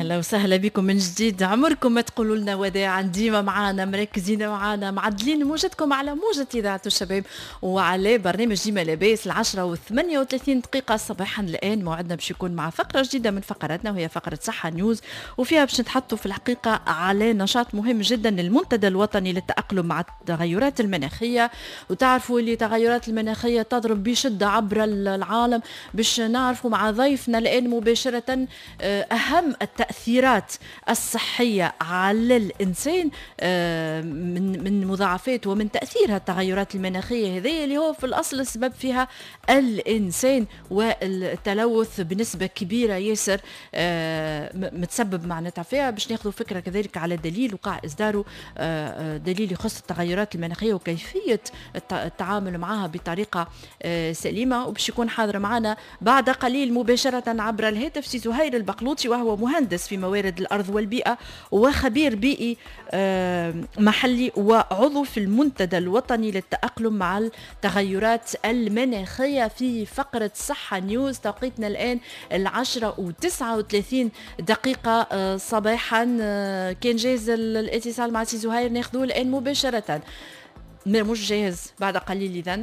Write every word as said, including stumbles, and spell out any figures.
اهلا وسهلا بكم من جديد. عمركم ما تقولوا لنا وداعا، ديما معانا، مركزين معانا، معدلين موجتكم على موجة اذاعة الشباب وعلى برنامج ديما لاباس. العشرة وثمانية وثلاثين دقيقة صباحا الآن موعدنا باش يكون مع فقرة جديدة من فقراتنا، وهي فقرة صحة نيوز، وفيها باش نتحطوا في الحقيقة على نشاط مهم جدا للمنتدى الوطني للتأقلم مع التغيرات المناخية. وتعرفوا اللي التغيرات المناخية تضرب بشدة عبر العالم. باش نعرفوا مع ضيفنا الآن مباشرة آه، أهم التأثيرات الصحية على الإنسان آه، من من مضاعفات ومن تأثيرها التغيرات المناخية هذه اللي هو في الأصل السبب فيها الإنسان، والتلوث بنسبة كبيرة ياسر آه، متسبب معناتها فيها. باش ناخذ فكرة كذلك على دليل وقع إصداره، آه، دليل يخص التغيرات المناخية وكيفية التعامل معها بطريقة سليمة. وباش يكون حاضر معنا بعد قليل مباشرة عبر الهاتف سي زهير البقلوطي، وهو مهندس في موارد الأرض والبيئة وخبير بيئي آه، محلي وعضو في المنتدى الوطني للتأقلم مع التغيرات المناخية. في فقرة صحة نيوز توقيتنا الآن العشرة وتسعة وثلاثين دقيقة آه، صباحا. آه، كان جاهز الاتصال مع سي زهير، ناخذوه الآن مباشرة. مش جاهز، بعد قليل إذن.